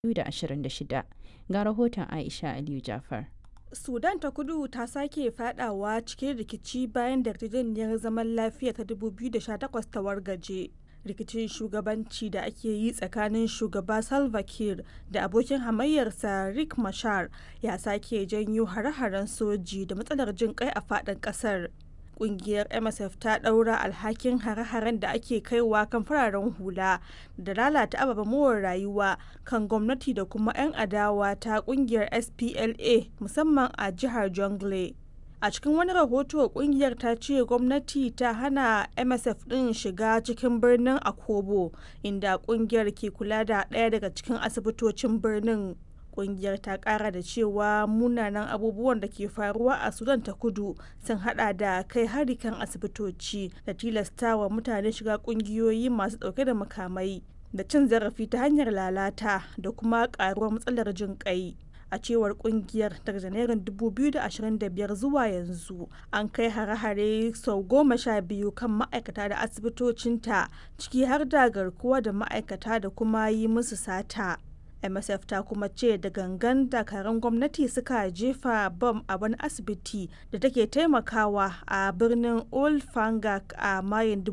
2026. Ga rahoton Aisha Aliyu Jafar. Sudan ta Kudu ta sake fadawa cikin rikici bayan da yarjejeniyar zaman lafiya ta 2018 ta wargaje. Rikicin shugabanci da ake yi tsakanin Shugaba Salva Kiir da abokin hamayyarsa Riek Machar ya sake janyo hare-haren soji da matsalar jin kai a fadin kasar. Kungiyar MSF ta ɗaura alhakin hare-haren da ake kaiwa kan fararen hula da lalata ababen more rayuwa kan gwamnati da kuma 'yan adawa ta kungiyar SPLA, musamman a jihar Jonglei. A cikin wani rahoto, kungiyar ta ce gwamnati ta hana MSF ɗin shiga cikin birnin Akobo, inda kungiyar ke kula da ɗaya daga cikin asibitocin birnin. Kungiyar ta kara da cewa munanan abubuwan da ke faruwa a Sudan ta Kudu sun hada da kai hari kan asibitoci da tilastawa mutane shiga kungiyoyi masu dauke da makamai da cin zarafi ta hanyar lalata da kuma karuwar matsalar jin kai. A cewar kungiyar, daga Janairun 2025 zuwa yanzu an kai hare-hare sau 12 kan ma'aikata da asibitocinta, ciki har da garkuwa da ma'aikata da kuma yi musu sata. MSF ta kuma ce da gangan dakarun gwamnati suka jefa bom a wani asibiti da take taimakawa a birnin Old Fangak a Mayun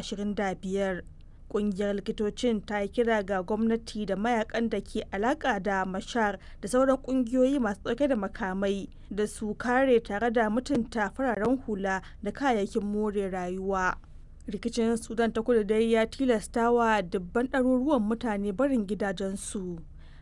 2025. Kungiyar likitocin ta yi kira ga gwamnati da mayakan da ke alaka da Mashar da sauran kungiyoyi masu dauke da makamai da su kare tare da mutunta fararen hula da kayayyakin more rayuwa. Rikicin Sudan ta Kudu dai ya tilasta wa dubban ɗaruruwan mutane barin gidajensu.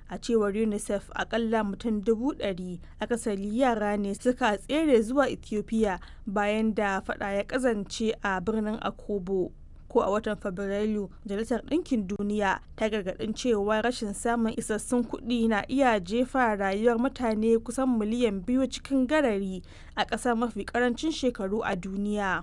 A cewar UNICEF, akalla mutum 100,000, akasari yara ne, suka tsere zuwa Ethiopia bayan da fada ya kazance a birnin Akobo. Ko a watan Fabrairu, Majalisar Ɗinkin Duniya ta gargaɗin cewa rashin samun isassun kuɗi na iya jefa rayuwar mutane kusan miliyan 2 cikin garari a ƙasa mafi ƙarancin shekaru a duniya.